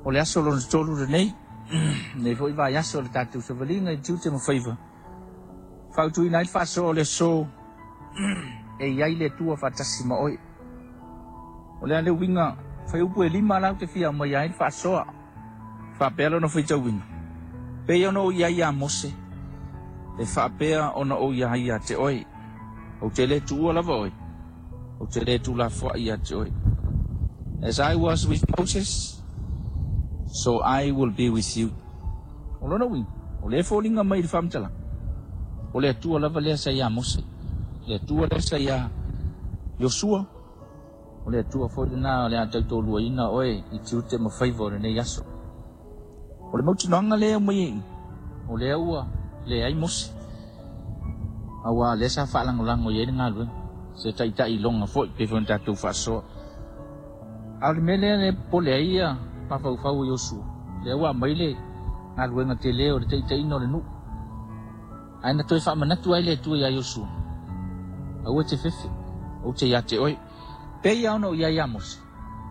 O le aso lona tolu lenei, lenei foi vaiaso o le tatou savaliga i tiute ma faiva. Fautuina ai le faasoa o le aso e i ai le Atua faatasi ma oe. O le a le uiga, fuaiupu e 5 la ou te fia aumaia ai le faasoa. Faapea lona faitauina. Pei ona ou i ai ia Mose, e faapea ona ou i ai ia te oe. Ou te le tuua lava oe, ou te le tuulafoai ia te oe. As I was with Moses, so I will be with you. O lona uiga, o lea e foliga mai i le faamatalaga, o le Atua lava lea sa ia Mose, le Atua lea sa ia Iosua, o le Atua foi lena o le a tautoaluaina oe i tiute ma faiva o lenei aso. O le mautinoaga lea e aumai ai i, o lea ua leai Mose, aua lea sa faalagolago i ai le galuega, se taitai iloga foi pei foi ona tatou faasoa. A o le mea lea e popole ai ia mafaufau o Iosua, lea ua aumai le galuega tele o le taitaiina o le nuu. Ae na toe faamanatu ai le Atua ia Iosua, aua e te fefe, ou te ia te oe. Pei lava ona ou i ai ia Mose,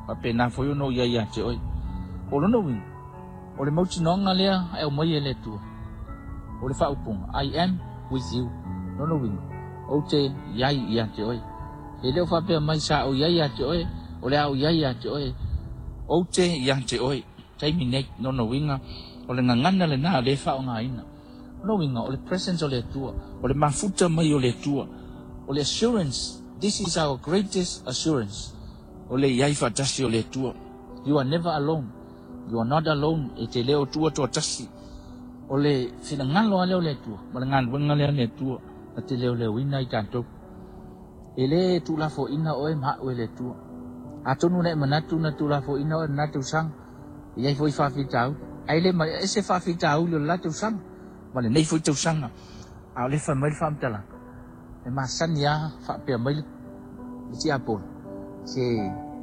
faapena foi ona ou i ai ia te oe. O lona uiga, o le mautinoaga lea e aumai e le Atua, o le faaupuga, I am with you. Lona uiga, ou te i ai ia te oe. E le o faapea mai sa ou i ai ia te oe, o le a ou i ai ia te oe. Ou te ia te oe. Taimi nei, lona uiga, o le gagana lena o lea e faaaogaina. Lona uiga, o le presence o le Atua, o le mafuta mai o le Atua, o le assurance, this is our greatest assurance, o le i ai faatasi o le Atua. You are never alone. You are not alone. E te le o tuua toatasi. O le finagalo lava lea o le Atua, ma le galuega lea a le Atua, na te leoleoina ai tatou. E le tuulafoaiina oe ma au e le Atua. Atonu na e manatu na tuulafoaiina oe i lena tausaga, e i ai foi faafitauli. Ae le ma ese faafitauli o le la tausaga ma lenei foi tausaga. A o lea e fai mai le faamatalaga, e masani lava faapea mai le tiapolo, se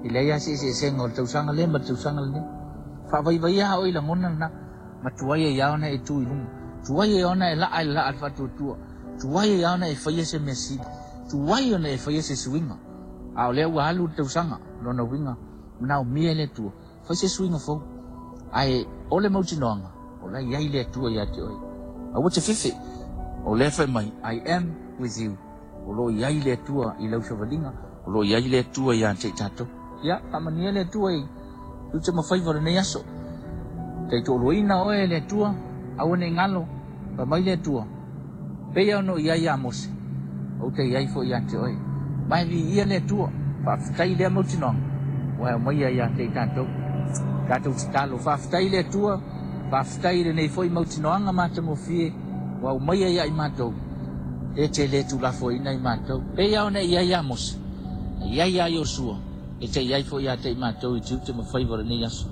e leai lava se eseesega o le tausaga lea ma le tausaga lenei. Faavaivaia lava oe i lagona lena, ma tuai ai lava ona e tu i luga, tuai ai lava ona e laa i le laa a le faatuatua, tuai ai lava ona e faia se mea sili, tuai ona e faia se suiga. A o lea ua alu le tausaga, lona uiga, manaomia e le Atua, fai se suiga fou. Ae o le mautinoaga, o la e i ai le Atua ia te oe. Aua te fefe, o lea e fai mai, I am with you. O lo o i ai le Atua i lau savaliga, o lo o i ai le Atua ia te i tatou. Ia, faamanuia le Atua i tiute ma faiva o lenei aso. Taitoaluaina oe e le Atua, aua ne i galo, fai mai le Atua, pei ona ou i ai ia Mose, ou te i ai foi ia te oe. Ma e viia le Atua, faafetai i lea mautinoaga ua e aumaia ia te i tatou. Tatou tatalo, faafetai i le Atua, faafetai i lenei foi mautinoaga matagofie ua aumaia ia i matou, e te le tuulafoaiina i matou. Pei lava ona e i ai ia Mose, e i ai ia Iosua, e te i ai foi ia te i matou i tiute ma faiva o lenei aso.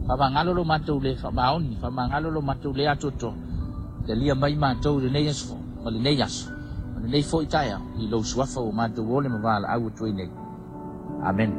Faamagalo lo matou le faamaoni, faamagalo lo matou le atoatoa, talia mai matou i lenei aso ma lenei aso, ma lenei foi taeao, i lou suafa ua matou ole ma valaau atu ai nei. Amene.